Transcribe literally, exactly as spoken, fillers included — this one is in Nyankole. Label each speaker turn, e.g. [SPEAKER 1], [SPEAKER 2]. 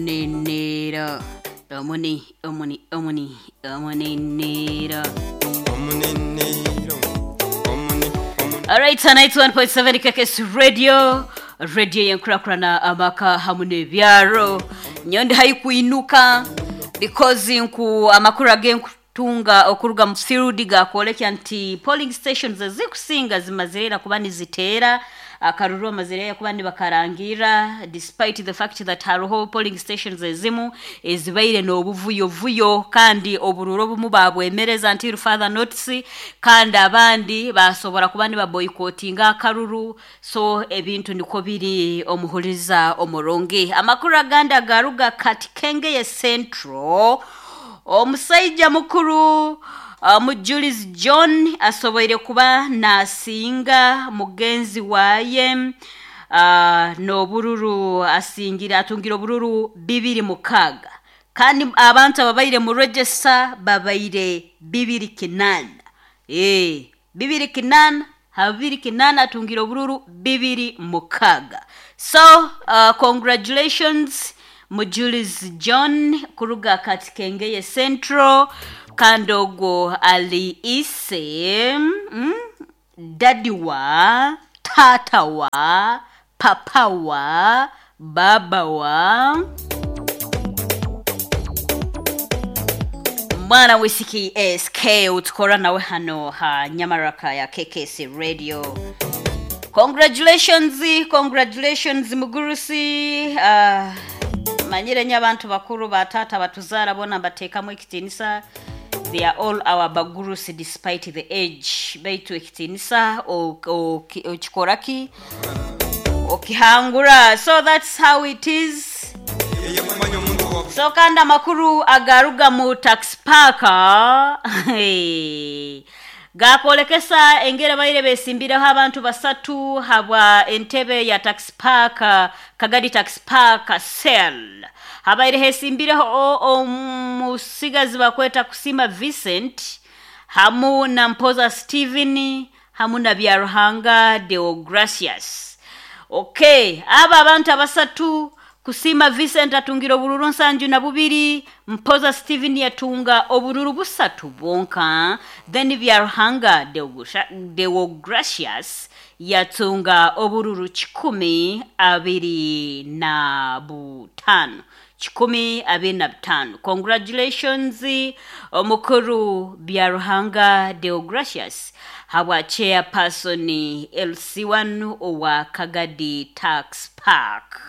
[SPEAKER 1] Omunenera omuni omuni omuni omunenera.
[SPEAKER 2] Omunenero, omuni, omuni.
[SPEAKER 1] Alright, ninety-one point seven K K S Radio, radio yenkurakurana amaka hamu n'ebyaro. Nyondi haikwinuka because nku amakuru agenkutunga okuruga mu field gakwolekya nti polling stations ezikusinga zimazirera kuba niziteera akaruru, amazirera kuba nibakarangira, despite the fact that hariho polling stations ezimu ezibaire n'obuvuyovuyo kandi obururu obumu babwemereza until further notice, kandi abandi basobora kuba nibaboycottinga akaruru. So ebintu niko biri, omuhuriza omurungi. Amakuru agandi agaruga Katikengeye Central, omusaija mukuru uh, Mujulizi John asoboire kuba nasinga mugenzi waye uh, n'obururu asingira atungira obururu bibiri mukaaga, kandi abantu ababaire mu register babaire bibiri kinaana, eh bibiri kinaana ha bibiri kinaana atungira obururu bibiri mukaaga. So uh, congratulations, Mujulizi John kuruga Katikengeye Central. Kandi ogwo ali ise, mm, dadi wa tata wa papa wa baba wa mwana wisiki S K utukora nawe hano ha Nyamaraka ya K K S Radio. Congratulations, congratulations, mugurusi. uh, manyire nye abantu bakuru, batata batuzara bona mbateekamu ekitinisa. They are all our bagurusi despite the age, baitu ekitinisa okikoraki okihangura. So that's how it is.
[SPEAKER 2] Yeye kumanya omuntu wa
[SPEAKER 1] So kandi amakuru agaruga mu tax park gakwolekesa engeri baire besimbireho abantu basatu habwa entebe ya tax park, Kagadi Tax Park cell. Habaire hesimbireho omusigazi bakweta Kusima Vincent hamu na Mpoza Steven hamu na Byaruhanga Deogracius. Okay, aba abantu abasatu, Kusima Vincent atungira obururu nsanju na bubiri, Mpoza Steven yatunga obururu busatu bwonka, then Byaruhanga Deogracius yatunga obururu kikumi abiri na butano, kikumi abiri na butano. Congratulations, omukuru Byaruhanga Deogracius habwa chairperson L C one owa Kagadi Tax Park.